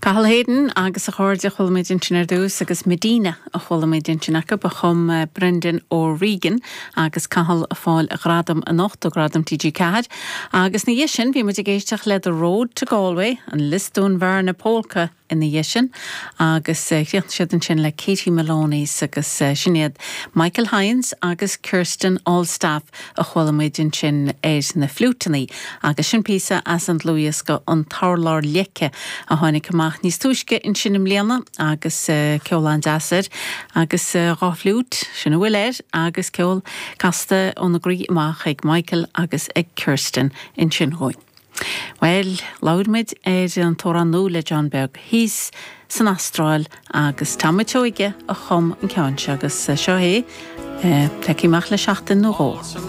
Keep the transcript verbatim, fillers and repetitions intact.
Cathal Hayden agus a chairde a chuala muid ansin ar dtús agus Medina a chuala muid ansin acu a chum eh, Brendan O'Regan agus Cathal ag fáil a ghradam anocht ó Ghradam TG Ceathair. Agus ina dhiaidh sin bhí muid ag éisteacht le The Road to Galway an Lisdoonvarna Polka ina dhiaidh sin agus eh, chríochnaigh siad ansin le Katie Maloney's agus eh, sin iad Michael Hines agus Kirsten Allstaff a chuala muid ansin ar na fliúiteanna agus sin píosa as an dlúthdhiosca an t-urlár leice a tháinig amach níos túisce ansin i mbliana agus uh, ceol an-deas air agus uh, dhá fliúit sin a bhfuil air agus ceol casta óna gcroí amach ag Michael agus ag Kirsten ansin dhúinn. Well, labhair muid ar an t-amhrán nua le John Beag thíos san Astráil agus Tommy Seoige a chum an ceann seo agus seo é feicfidh amach le seachtain nó dhó.